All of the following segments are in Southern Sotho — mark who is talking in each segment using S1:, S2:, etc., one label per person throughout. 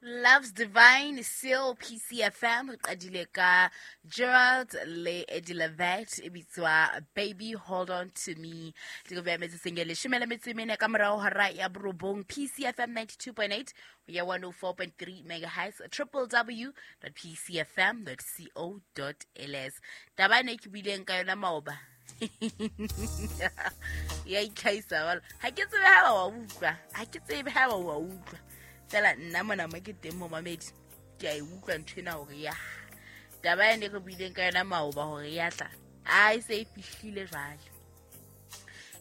S1: Love's Divine Seal PCFM re qadile ka Gerald le Eddie Levet e bitswa Baby Hold On To Me. Ke beya metsotsong e leshome le metso e mene ka morao hora ya borobong PCFM 92.8 ho ya 104.3 megahertz www.pcfm.co.ls. Taba ene ke buileng ka yona maoba ya itlhahisa jalo. Ha ke tsebe ha ba wa utlwa, ha ke tsebe ha ba wa utlwa. Fela nna mona mo ke teng momamedi, ke a e utlwa ntho ena hore ya taba ene re buileng ka yona maoba hore ya tla, a e se e fihlile jwale,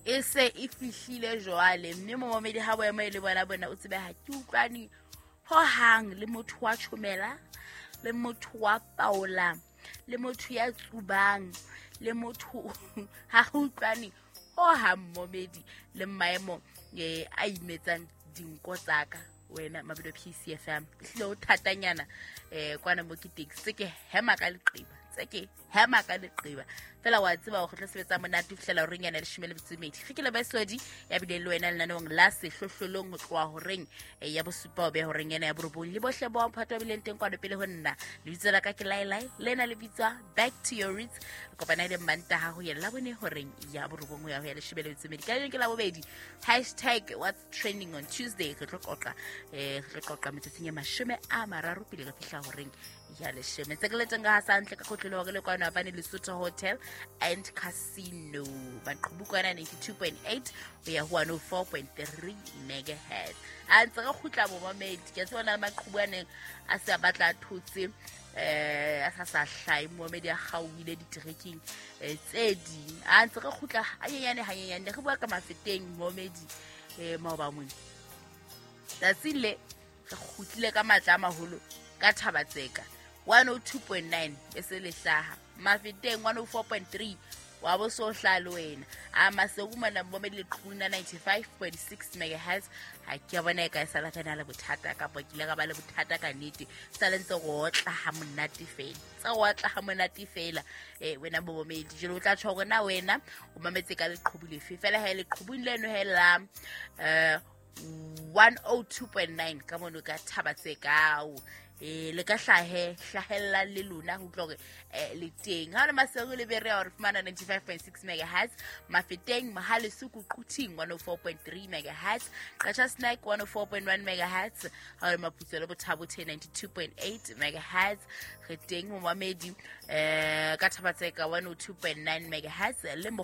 S1: e se e fihlile jwale. Mme momamedi, ha boemo e le bona bona, o tsebe ha ke utlwane hohang le motho wa tjhomela, le motho wa paola, le motho ya tsubang, le motho ha re utlwane hohang momedi le maemo a imetsang dinko tsaka. Wena mabelo PCFM, ehlile o thatanyana kwana mo ke teng, se ke hema ka leqeba, tse ke hema ka leqeba fela. Wa tseba hore re tlo sebetsa monate ho fihlela horeng yana leshome le metso e mmedi. Re ke lebesodi ya bileng le wena lenaneong la Sehlohlolong ho tloha horeng ya bosupa ho beha horeng ena ya borobong, le bohle bo mphato ba bileng teng kwano pele ho nna. Lebitso la ka ke Laelai, le na le bitswa Back to Your Roots. Re kopana le Mantaha ho ya Labone horeng ya borobong ho ya ho ya leshome le metso e mmedi. Ka leng ke Labobedi, hashtag what's trending on Tuesday. Re tlo qoqa re tlo qoqa metsotsong ya 30 pele re fihla horeng ya leshome. Tse ke leteng ka hasantle ka kotlolo hore le kwano abane Lesotho Hotel and Casino, maqhubu kwana 92.8 ho ya ho 104.3 megahertz. A ntse re kgutla momamedi, ke a tseba na le maqhubu a neng a se a batla a thotse, a sa sa hlahe momamedi, a kgaohile diterekeng tse ding. A ntse re kgutla hanyenyane hanyenyane. Re bua ka Mafeteng momedi maoba mone. Tsatsing le re kgutlile ka matla a maholo ka Thabatseka 102.9 e se le hlaha Mafeteng 104.3 wa bo so hlaha le wena a Maseru mona momedi leqhubung la 95.6 megahertz. Ha ke a bona e ka e sala re na le bothata kapa ke ile ka ba le bothata ka nnete, sa le ntse re otla ha monate fela, tse re otla ha monate fela. Wena momedi jalo o tla tjho hore na wena o mametse ka leqhubu lefe fela, ha e leqhubung leno he la 102.9 ka mono ka thaba tse kao le ka hlahe hlahellang le lona ho utlwa hore le teng. Ha le Maseru le Berea hore fumana 95.6 megahertz, Mafeteng, Mohalesuku, Quthing 104.3 megahertz, Qacha Snack 104.1 megahertz, ha le Maputso le Bothabothe 92.8 megahertz. Re teng momamedi ka Thabatseka 102.9 megahertz le